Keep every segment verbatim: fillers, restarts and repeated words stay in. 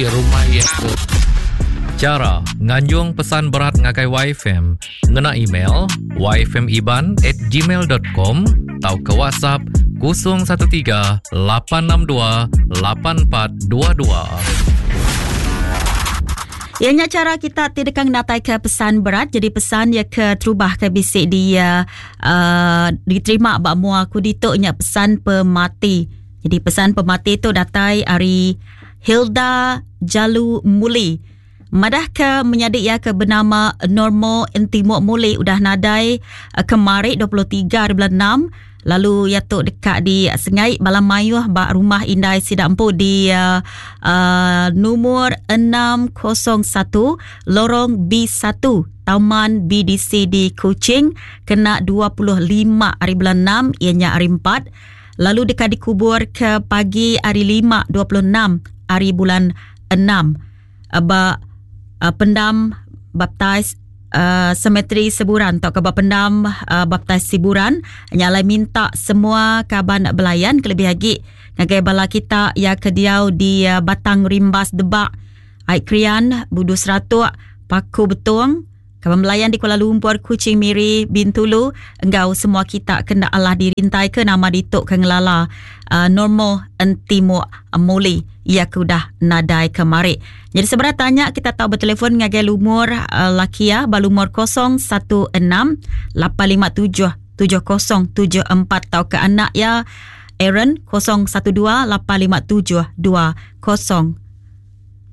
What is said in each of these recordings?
Rumah iya ke Chara nganjung pesan berat ngagai Y F M ngena email y f m iban at gmail dot com tau ke WhatsApp kosong satu tiga lapan enam dua lapan empat dua dua. Ianya cara kita ti dekang natai ke pesan berat. Jadi pesan ya ke terubah ke bisik dia, uh, diterima bak mua aku dituk nya pesan pemati. Jadi pesan pemati tu datai ari Hilda Jalu Muli. Madah ke menyadik ia ke bernama Normo Entimuk Muli udah nadai, uh, kemari dua puluh tiga hari bulan enam. Lalu ia tu dekat di Sengai Balam Mayuh bak rumah Indai Sidampu di, uh, uh, nomor enam kosong satu Lorong B satu Taman B D C di Kuching kena dua puluh lima hari bulan enam ianya hari empat. Lalu dekat dikubur ke pagi hari lima dua puluh enam hari bulan enam. Ba, uh, pendam baptis, uh, semetri Seburan atau ke ba pendam, uh, baptis Siburan nyalai minta semua kaban belayan kelebih lagi ngagai bala kita ya ke diau di, uh, Batang Rimbas Debak, Aik Krian, Budu Seratuk, Paku Betong, kaban belayan di Kuala Lumpur, Kuching Miri, Bintulu, engau semua kita kena Allah dirintai ke nama dituk ke ngelala, uh, Normo Entimuk Muli ya ke udah nadai kemari. Jadi sebenarnya tanya kita tahu bertelefon ngagai lumur, uh, lakia balumur kosong satu enam lapan lima tujuh tujuh kosong tujuh empat atau ke anak ya Aaron kosong satu dua lapan lima tujuh dua kosong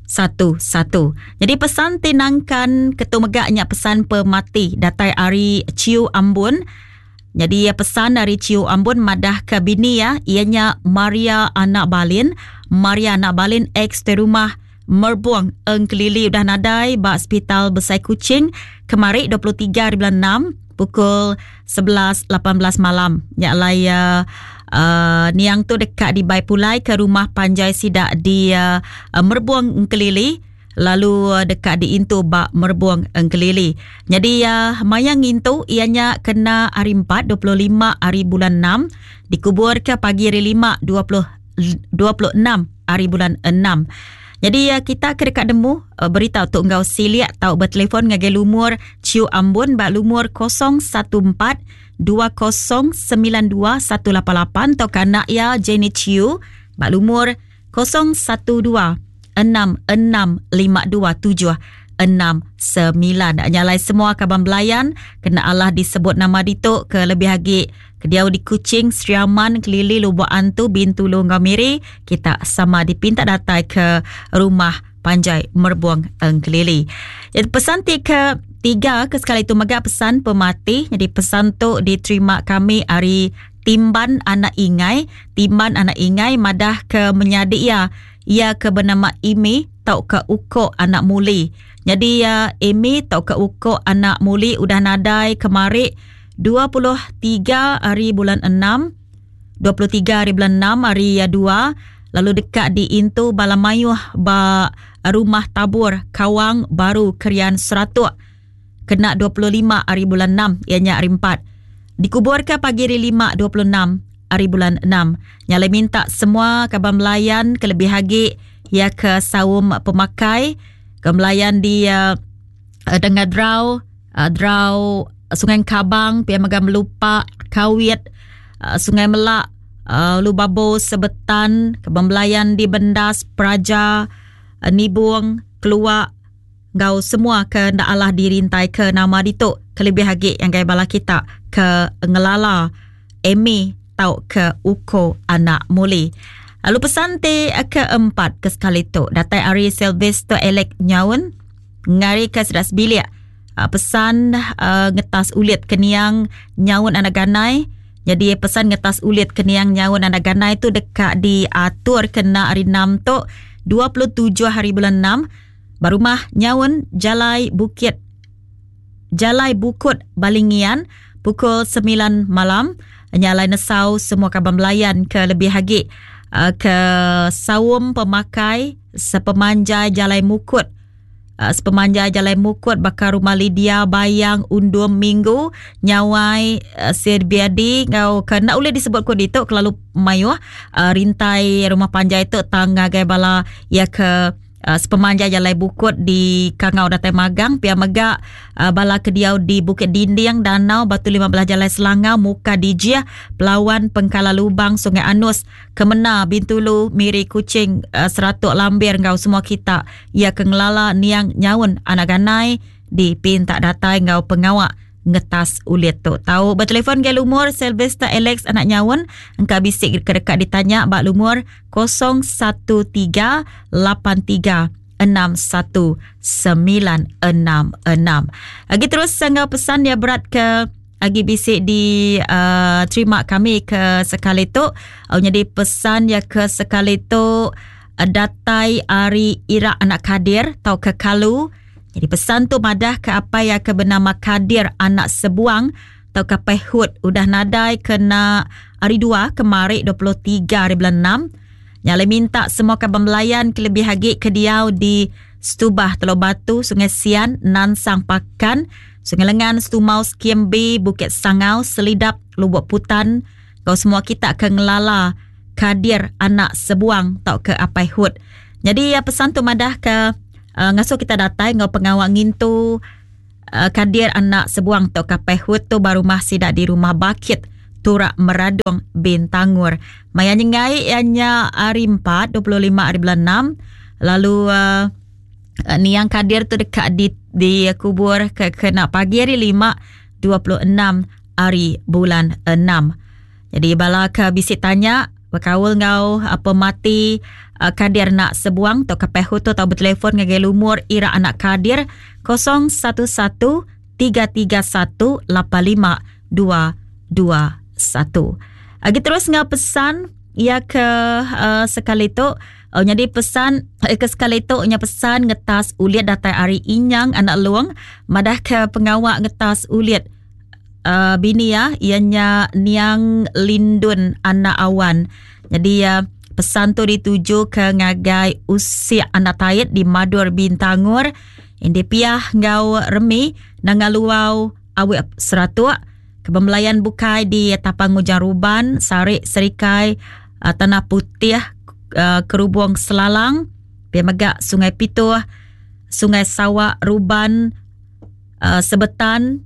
satu satu. Jadi pesan tinangkan ketumegaknya pesan pemati datai ari Ciu Ambun. Jadi ya, pesan dari Ciu Ambun madah ke bini ya, ianya Maria anak Balin. Maria anak Balin ex di rumah Merbuang Engkelili udah nadai ba Hospital Besai Kuching kemari dua puluh tiga hari bulan enam pukul sebelas lapan belas malam. Nya lai, uh, uh, niang tu dekat di Bai Pulai ke rumah panjai sidak di, uh, Merbuang Engkelili lalu, uh, dekat di Intu ba Merbuang Engkelili. Jadi, uh, mayang ngintu ianya kena hari empat dua puluh lima hari bulan enam dikubur ke pagi hari lima dua puluh, dua puluh enam hari bulan enam. Jadi, uh, kita ke dekat demu, uh, berita untuk ngau siliak tau bertelefon ngagai lumur Ciu Ambun bak lumur kosong satu empat dua kosong sembilan dua satu lapan lapan atau kanak ya Jenny Ciu bak lumur kosong satu dua enam enam lima dua tujuh enam sembilan. Nyalai semua kaban belayan kena Allah disebut nama dituk ke lebih agi ke diau di Kuching, Sri Aman, Kelili, Lubuk Antu, Bintulu, Ngau Miri, kita sama dipinta datai ke rumah panjai Merbuang Engkelili. Jadi pesan ti ke tiga ke sekali itu mega pesan pemati. Jadi pesan tu diterima kami ari Timban Anak Ingai. Timban Anak Ingai madah ke menyadik ia, ia ke bernama Imi tau ke Ukok Anak Muli. Jadi ya Imi tau ke Ukok Anak Muli udah nadai kemari dua puluh tiga hari bulan enam, dua puluh tiga hari bulan enam hari ya dua, lalu dekat di Intu Balamayuh ba rumah tabur Kawang Baru Kerian Seratuk kena dua puluh lima hari bulan enam ianya hari empat. Dikubur ke pagi hari lima dua puluh enam hari bulan enam. Nyalai minta semua kaban melayan kelebih agi ya ke saum pemakai ke melayan di, uh, Dengar Drau, uh, Drau Sungai Kabang, Pia Megam Melupak, Kawit, uh, Sungai Melak, uh, Lubabo, Sebetan, Kebembelayan di Bendas, Praja, uh, Nibung, Keluak, gau semua ke ndak Allah dirintai ke nama dituk kelebih agi yang gaya bala kita ke ngelala Emi tau ke Uko Anak Muli. Lalu pesan te keempat ke sekali tu datai ari Sylvester Alec Nyaun ngari ke sedas bilik. Uh, pesan, uh, ngetas ulit keniang Nyaun Anak Ganai. Jadi pesan ngetas ulit keniang Nyaun Anak Ganai tu dekat diatur kena hari enam tu dua puluh tujuh hari bulan enam. Barumah Nyaun Jalai Bukit Jalai Bukut Balingian pukul sembilan malam. Nyalai nesau semua kaban belayan ke lebih agi, uh, ke saum pemakai sepemanjai Jalai Mukut. Uh, sepemanjai Jalai Mukut bakal rumah Lydia Bayang Undum Minggu Nyawai, uh, Sirbiadi ngau ke nak boleh disebut ko ditu kelalu mayuh, uh, rintai rumah panjai tu tangga gai bala ya ke uh, sepemanjai Jalai Bukut di Kangau Datai Magang, pia mega uh, bala kediau di Bukit Dinding, Danau, Batu lima belas Jalai Selangau, Muka Dijih, Pelawan, Pengkala Lubang, Sungai Anus, Kemena, Bintulu, Miri, Kuching, uh, Seratuk Lambir ngau semua kita ia ke ngelala niang nyaun anak ganai di pintak datai ngau pengawak ngetas ulit tu. Tahu bertelefon ke lumur Sylvester Alex anak nyaun engka bisik ke dekat ditanya bak lumur kosong satu tiga lapan tiga enam satu sembilan enam enam. Lagi terus sanggau pesan dia berat ke agi bisik di uh, terima kami ke sekali tu. Oh, jadi pesan dia ke sekali tu uh, datai ari Irak anak Kadir tau ke Kalu. Jadi pesan tu madah ke apa yang ke bernama Kadir anak Sebuang atau ke Pehut udah nadai kena hari dua kemari dua puluh tiga hari bulan enam. Nyale minta semua kaban belayan kelebih lagi ke diau di Setubah Teluk Batu, Sungai Sian, Nansang Pakan, Sungai Lengan, Setumau, Skim B, Bukit Sangau, Selidap, Lubuk Putan. Kau semua kita ke ngelala Kadir anak Sebuang atau ke Apai Hut. Jadi ya, pesan tu madah ke Uh, ngasuh kita datai ngau pengawak ngintu uh, Kadir anak Sebuang atau Kapai Hut tu baru masih dak di rumah Bakit Turak Meradung Bintangur. Maya nyengai ianya hari empat, dua puluh lima hari bulan enam. Lalu uh, uh, niang Kadir tu dekat di, di kubur ke kena pagi hari lima, dua puluh enam hari bulan enam. Jadi bala ke bisik tanya berkaul ngau apa mati uh, Kadir nak Sebuang atau Kapai Hut tu atau bertelefon ngagai lumur Ira anak Kadir kosong satu satu tiga tiga satu lapan lima dua dua satu. Lagi terus ngau pesan ia ke uh, sekali tu. Oh, jadi pesan eh, ke sekali tu nya pesan ngetas uliat datai ari Inyang anak Luang madah ke pengawak ngetas uliat Uh, bini ya ianya Niang Lindun anak Awan. Jadi uh, pesan tu dituju ke ngagai Usia anak Tait di Madur Bintangur. Indi piah ngau remi nangaluau awek seratuk kebembelayan bukai di Tapang Ujang Ruban, Sarik Serikai, uh, Tanah Putih, uh, Kerubung Selalang, Pia Megak Sungai Pituh, Sungai Sawak Ruban, uh, Sebetan.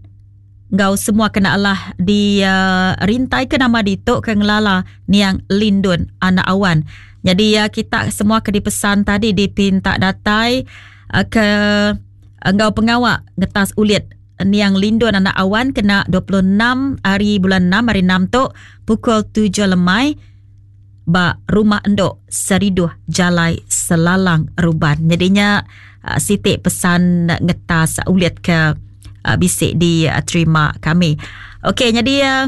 Ngau semua kena Allah di uh, rintai ke nama dituk ke ngelala Niang Lindun anak Awan. Jadi ya uh, kita semua ke dipesan tadi dipinta datai uh, ke uh, ngau pengawak ngetas ulit Niang Lindun anak Awan kena dua puluh enam hari bulan enam hari enam tu pukul tujuh lemai ba rumah endok Seriduh Jalai Selalang Ruban. Jadinya uh, sitik pesan ngetas ulit ke Uh, bisik diterima kami. Okey, jadi uh,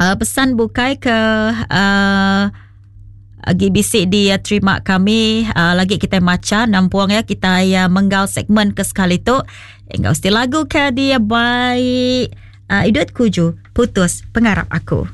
uh, pesan bukai ke uh, lagi bisik diterima kami uh, lagi kita maca nampuang ya kita ya menggal segmen ke sekali tu. Enggau mesti lagu ke dia baik uh, Idut Kuju putus pengarap aku.